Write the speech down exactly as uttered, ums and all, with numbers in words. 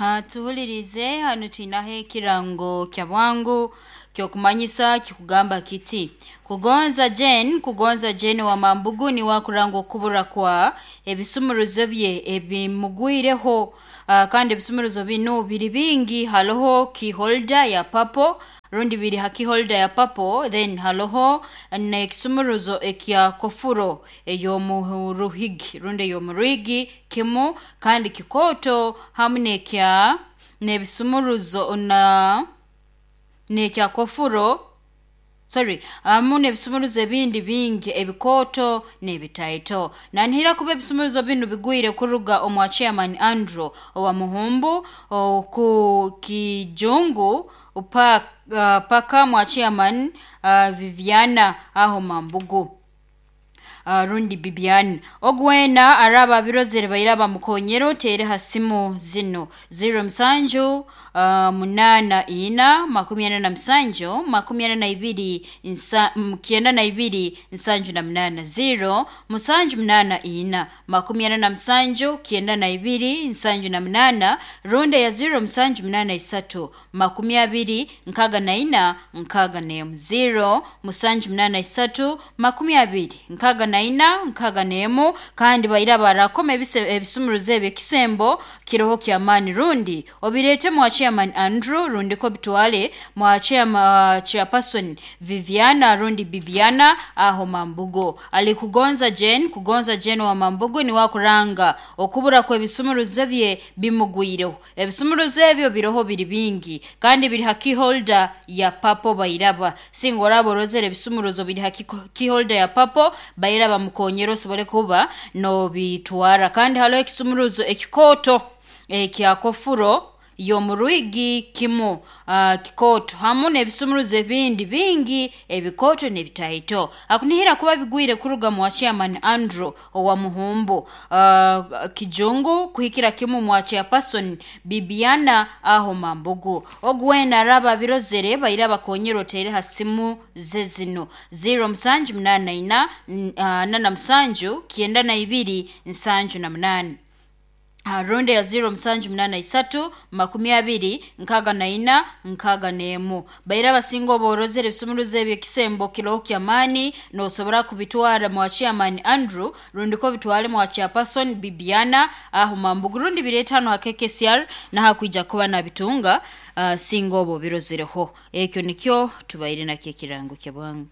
Ha, Tuhulirize hanu twinaho ekirango kya bwangu kyokumanyisa kikugamba kiti kugonza Jane kugonza Jane wa Mambugu niwe akuranga okubura kwa ebisumuruzo bye ebimugwireho uh, kandi ebisumuruzo binu biri bingi haloho keyholder ya purple rundi biri ha keyholder ya purple then haloho n'ekisumuruzo ekya kofuro ey'omuruhigi rundi ey'omurwigi kimu kandi kikooto hamu n'ekya n'ebisumuruzo na n'ekya kofuro sorry hamu n'ebisumuruzo ebindi bingi ebikooto n'ebitaito nanihira kuba ebisumuruzo binu bigwire kuruga omwa chairman Andrew owa Muhumbu oku Kijungu pa, uh, paka mwa chairman uh, Viviana aho Mambugu uh, rundi Bibian ogwena araba abirozere baira bamukonyera otere ha simu zino zero musanju uh, munana ina makumi ana na musanju makumi ana na ibiri nsa, mm, kyenda na ibiri nsanju na munana zero musanju munana ina makumi ana na musanju kyenda na ibiri nsanju na munana rundi ya zero musanju munana isatu makumi abiri nkaga na ina nkaga n'emu zero musanju munana isatu makumi abiri nkaga na ina nkaga n'emu kandi baira barakoma ebise- ebisumuruzo ebyo ekisembo kiroho kyamaani rundi obireete mwa chairman Andrew rundi ko bitwale mwa chairma, chairperson Viviana rundi Bibiana aho Mambugo ali kugonza Jane kugonza Jane wa Mambugo ni wakuranga okubura kw'ebisumuruzo bye bimugwireho ebisumuruzo ebyo biroho biri bingi kandi biri ha keyholder ya papo bairaba singa oraba orozere ebisumuruzo biri ha kiko- keyholder ya papo bairaba mukonyera osobole kuba nobitwara kandi haliho ekisumuruzo ekikooto ekya kofuro y'omurwigi kimu uh, kikooto hamu n'ebisumuruzo ebindi bingi ebikooto n'ebitaito akunihira kuba bigwire kuruga mwa chairman Andrew owa Muhumbu uh, Kijungu kuhikira kimu mwa chairperson Bibiana aho Mambugu ogwena araba birozere baira bakonyera otere ha simu ze zino zero musanju munana ina n- ah, nana musanju kyenda na ibiri nsanju na munana Ah, rundi ya zero musanju munana isatu makumi abiri nkaga na ina nkaga n'emu baira abasinga oborozere ebisumuruzo ebyo ekisembo kiroho kyamaani nosobora kubitwara mwa chairman Andrew rundi ko bitwale mwa chairperson Bibiana aho Mambugu rundi bireeta hano ha K K C R nahakwija kuba nabitunga uh, singa obo birozereho ekyo nikyo tubaire nakyo ekirango kya bwangu.